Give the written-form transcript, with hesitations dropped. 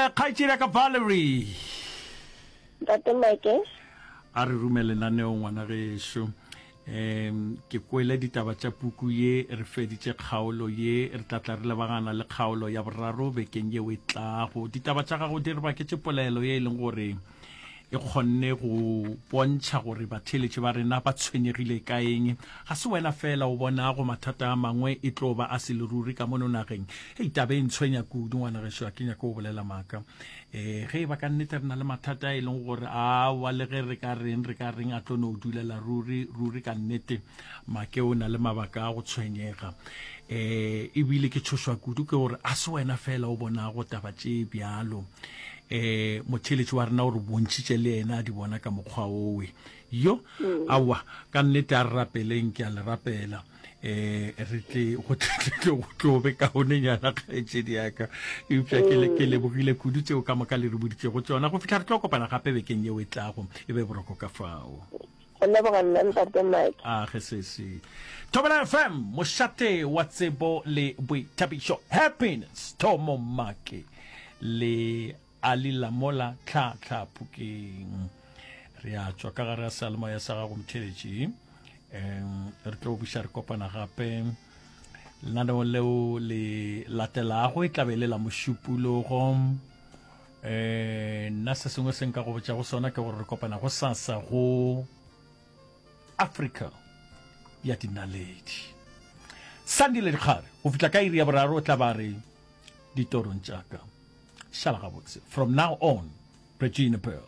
Eh, kgaetšedi ya ka Valerie. Ntate Mike. A re rume lenaneo ngwana gešo. Um ke kwele ditaba tša puku ye, re feditše kgaolo ye, re tla tla re lebagana le kgaolo ya boraro bekeng yeo e tlago. Ditaba tša gago di re baketše polelo ye e leng gore e kgonne go bontšha gore batheeletši ba rena ba tshwenyegile ka eng. Ga se wena fela o bonago mathata a mangwe e tlo ba a se le ruri ka mono nageng. Hei, taba e ntshwenya kudu ngwana gešo, ga ke nyake go bolela maaka. Um ge e ba ka nnete re na le mathata a e leng gore awa le ge re ka reng re ka reng a tlo no dulela ruri ruri ka nnete make o na le mabaka a go tshwenyega. Um ebile ke tšhošwa kudu ke gore a se wena fela o bonago taba tše bjalo. Um motheeletši wa rena o re bontšhitše le yena a di bona ka mokgwa owe. Yo, aowa, ka nnete a re rapeleng, ke a le rapela. Eh, re tle go tle go tlo be kaonenyana kgaetšedi ya ka. Eupša ke le ke lebogile kudu tšeo ka moka le re boditšego tšona. Go fihla re tlo kopana gape bekeng yeo e tlago, e be boroko ka fao. Go leboga nna Ntate Mike. A ge sesi. Thobela FM, mošate wa tsebo le boithabišo. Happiness, Thomo Make le Ali Lamola Tlha Tlha Phokeng. Re a tšwa ka gare ga seyalemoya sa gago motheeletši. Um re tlo buša re kopana gape lenaneong leo le latelago e tlabe e le la mošupologo. Um nna se sengwe se nka go botšago sona ke gore re kopana go sasa go Afrika ya dinaledi. Sandile Dikgare go fihla ka iri ya boraro o tla ba re ditorong tša ka. Šala gabotse. From now on, Regina Pearl.